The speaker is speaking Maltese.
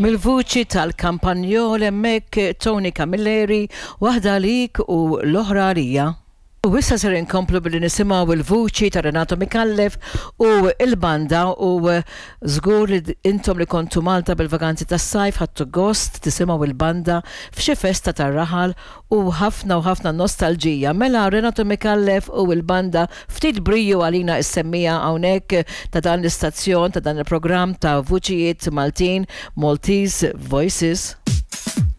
Mill-vuċi tal-kampanjol hemmhekk Tony Camilleri, waħda għalik u l-oħra għalija. U issa ser inkomplu billi nisimgħu l-vuċi ta' Renato Micallef u l-banda u żgur li intom li kontu Malta bil-vaganzi tas-sajf ħadtu gost tisimgħu l-banda f'xi festa tar-raħal u ħafna u ħafna nostalġija. Mela Renato Micallef u l-banda ftit briju għalina s-semmiegħa hawnhekk ta' dan l-istazzjon ta' dan il-programm ta' Vuċijiet Maltin, Maltese Voices.